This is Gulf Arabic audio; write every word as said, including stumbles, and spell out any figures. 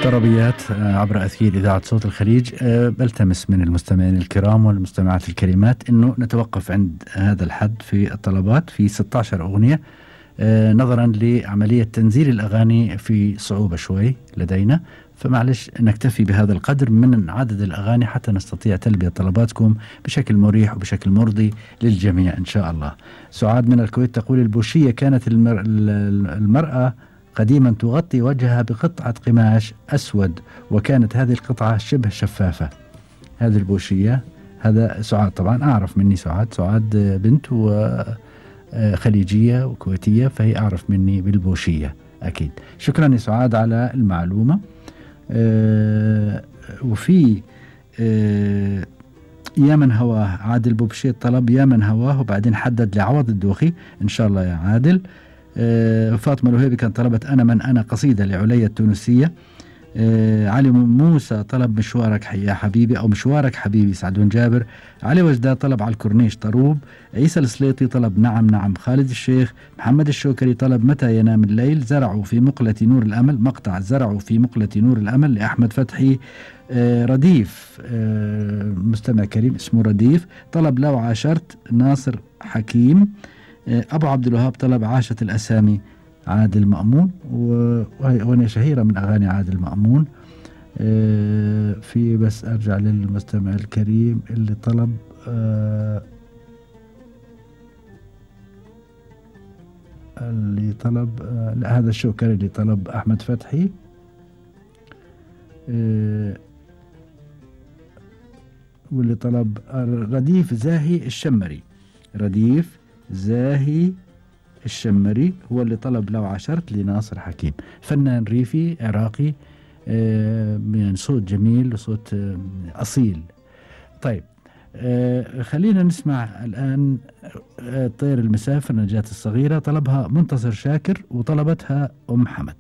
طربيات عبر أثير إذاعة صوت الخليج. بلتمس من المستمعين الكرام والمستمعات الكريمات أنه نتوقف عند هذا الحد في الطلبات في ستة عشر أغنية، نظرا لعملية تنزيل الأغاني في صعوبة شوي لدينا، فمعلش نكتفي بهذا القدر من عدد الأغاني حتى نستطيع تلبية طلباتكم بشكل مريح وبشكل مرضي للجميع إن شاء الله. سعاد من الكويت تقول: البوشية كانت المر... المرأة قديما تغطي وجهها بقطعة قماش أسود، وكانت هذه القطعة شبه شفافة. هذه البوشية، هذا سعاد طبعا أعرف مني، سعاد سعاد بنت وخليجية وكويتية، فهي أعرف مني بالبوشية أكيد. شكرا يا سعاد على المعلومة. أه وفي أه يا من هواه عادل بوبشي طلب يا من هواه، وبعدين حدد لعوض الدوخي إن شاء الله يا عادل. أه فاطمة الوهيبي كان طلبت أنا من أنا قصيدة لعليا التونسية. أه علي موسى طلب مشوارك يا حبيبي أو مشوارك حبيبي سعدون جابر. علي وجدة طلب على الكورنيش طروب. عيسى السليطي طلب نعم نعم. خالد الشيخ. محمد الشوكري طلب متى ينام الليل. زرعوا في مقلة نور الأمل، مقطع زرعوا في مقلة نور الأمل لأحمد فتحي. أه رديف أه مستمع كريم اسمه رديف طلب لو عاشرت ناصر حكيم. أه أبو عبد الوهاب طلب عاشت الأسامي عادل مأمون، وهي أغنية شهيرة من أغاني عادل مأمون. أه في بس أرجع للمستمع الكريم اللي طلب أه اللي طلب أه لا هذا الشوكري اللي طلب أحمد فتحي. أه واللي طلب رديف زاهي الشمري. رديف زاهي الشمري هو اللي طلب لو عاشرت لناصر حكيم، فنان ريفي عراقي من صوت جميل وصوت أصيل. طيب آه خلينا نسمع الآن آه طير المسافر نجاة الصغيرة، طلبها منتصر شاكر وطلبتها أم حمد.